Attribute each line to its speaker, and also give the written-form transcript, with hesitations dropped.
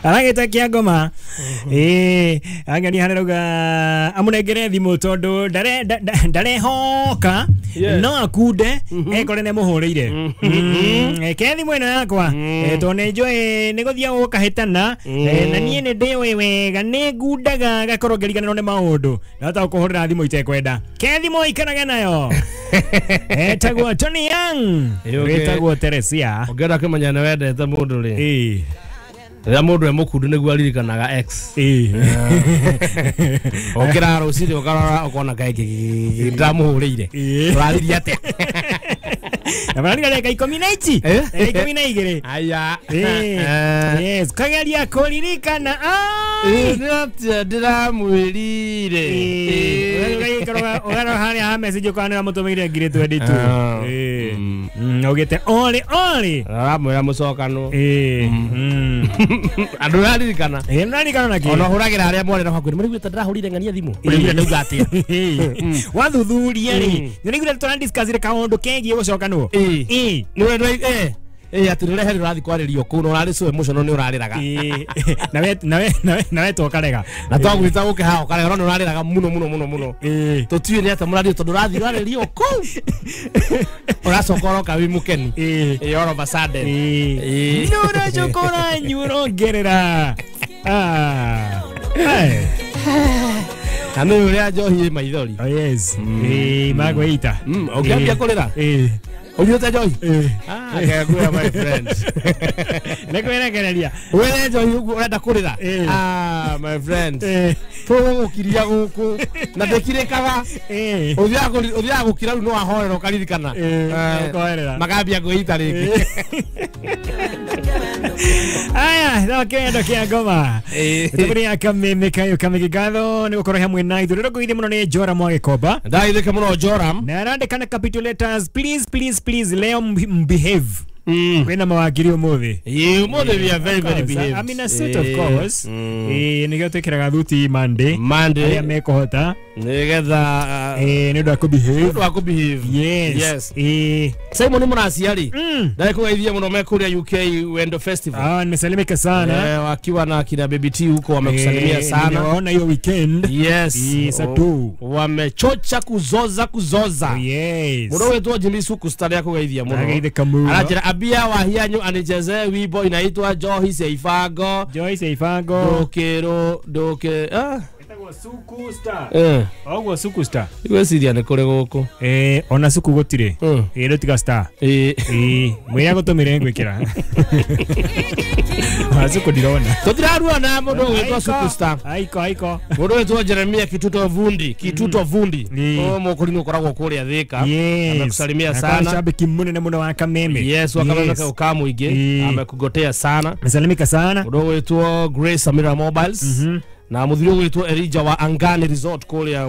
Speaker 1: Aragĩta kĩa ngoma. Ĩĩ, angani harĩa rauga amũnengere thimũ tondũ ndarehoka no akunde ekore nĩ mũhũrĩire. Ke thimũ ĩno yakwa tondũ nĩ njũĩ nĩ gũthiĩ gũkahĩtana na niĩ nĩ ndĩũĩ wega nĩ ngundaga ngakorwo ngĩriganĩrwo nĩ maũndũ ndahota gũkũhũrĩra thimũ itekwenda. Ke thimũ ikarage nayo. Etagwo Tony Young. Wĩtagwo Teresia.
Speaker 2: Ũngĩenda kũmenya nĩ wendete mũndũ rĩ, rĩrĩa mũndũ e mũkundu nĩguo aririkanaga ex. Ũkĩra rũcinĩ ũkarora ũkona kaĩ ndĩramũhũrĩire. Ũraririe atĩa?
Speaker 1: Na mararika dakika ikũmi na ici. Dakika 12.
Speaker 2: Aya.
Speaker 1: Yes, kageria kũririkana.
Speaker 2: Nĩ atĩa ndĩramwĩrire?
Speaker 1: Ũgarora harĩa ha message ũkona nĩ ũramũtũmĩire ngiri 22. Augĩte ori ori.
Speaker 2: Aramwĩra mũcokano. Andũ ũraririkana.
Speaker 1: Nĩũraririkana na kĩ?
Speaker 2: Ona ũhũragĩra arĩa mwarĩ na hakuhĩ nĩmaraiguĩte ndĩrahũrire ng'ania thimũ. Ũraiguire ndauga atĩa?
Speaker 1: Wathuthuria rĩ, nĩũraiguire tũradiscussire kaũndũ kegiĩ gũcokanwo.
Speaker 2: Nĩ atĩ nĩ ũrehe ũrathiĩ kwarĩrio kũu na ũrarĩ so emotional nĩ ũrarĩraga.
Speaker 1: Na we tokarega.
Speaker 2: Na twagwĩta gũke haha ũkarega no nĩ ũrarĩraga mũno mũno mũno mũno. Tũtiũĩ nĩ atĩa mũrario tondũ ũrathiĩ ũrarĩrio kũu. Ũracoka ũroka wĩ mũkenu. All of a sudden.
Speaker 1: Nĩ ũracoka ũranyua ũrongerera.
Speaker 2: Na nĩ ũrĩa njohi ĩ maithori.
Speaker 1: Oh yes. Magwĩita.
Speaker 2: Ũngĩambia kũrĩra? Ũnyuĩte njohi? Kegwĩra my friend.
Speaker 1: Nĩ kwĩrekereria.
Speaker 2: Wĩre njohi ũguo ũrenda kũrĩra? My friend. Tũgũgũkiria gũkũ na ndĩkirĩkaga. Ũthiaga gũkira rĩu no wahorera ũkaririkana.
Speaker 1: Ũkoherera.
Speaker 2: Makambia kwĩita rĩngĩ.
Speaker 1: Aya, no kĩendo kĩa ngoma. Tũbũrĩ kameme kayo kamege gatho nĩ gũkorwo hamwe na ithuĩ. Rĩrĩa mũno nĩ Joram wa Gĩkomba.
Speaker 2: Ndageithĩka mũno Joram.
Speaker 1: Na arandĩka na capital letters, please please please leo mbehave. Kwĩna mawakiri ũmũthĩ.
Speaker 2: Ũmũthĩ we are very very behaved.
Speaker 1: I'm in a suit of course. Nĩkĩo twĩkĩraga thuti Monday.
Speaker 2: Monday.
Speaker 1: Arĩa mekũhota.
Speaker 2: Nĩgetha
Speaker 1: nĩ ũndũ wa kũbehave.
Speaker 2: Nĩ ũndũ wa kũbehave.
Speaker 1: Yes.
Speaker 2: Simon Mũraciari. Ndagĩkũgeithia mũno me kũrĩa UK Wendo Festival.
Speaker 1: Nimesalimika sana.
Speaker 2: Wakiwa na kina Baby T huko wamekusalimia sana.
Speaker 1: Nimewaona hiyo weekend.
Speaker 2: Yes.
Speaker 1: Satu.
Speaker 2: Wamechocha kuzoza kuzoza.
Speaker 1: Oh, yes.
Speaker 2: Mũndũ wetwo Jimmy Suku stari akũgeithia mũno.
Speaker 1: Ndageithĩka mũno.
Speaker 2: Aranjĩra abia wa hianyu anichezee wimbo inaitwa Njohi cia Ibango.
Speaker 1: Njohi cia Ibango.
Speaker 2: Ndũkĩrũ ndũkĩ
Speaker 1: Suku star. Oguo Suku star.
Speaker 2: Igweciria nĩ kũrĩ gũkũ.
Speaker 1: Ona Suku gũtirĩ. Rĩu tiga star. Mwĩre agũtũmĩre ngwĩkĩra. Suku ndirona.
Speaker 2: Tũtiraruana mũndũ ũgwĩtwo Suku star.
Speaker 1: Aiko aiko.
Speaker 2: Mũndũ ũgwĩtwo Jeremia Kituto Vundi. Kituto Vundi. Ũyũ mũkũrinũ ũkoragwo kũrĩa Thĩka. Amekusalimia sana.
Speaker 1: Shabiki mũnene mũno wa Kameme.
Speaker 2: Yes, wa Kameme ka mũingĩ. Amekugotea sana.
Speaker 1: Amesalimika sana.
Speaker 2: Mũndũ ũgwĩtwo Grace Amira Mobiles. Na mũthuri ũgwĩtwo Elijah wa Angani Resort kũrĩa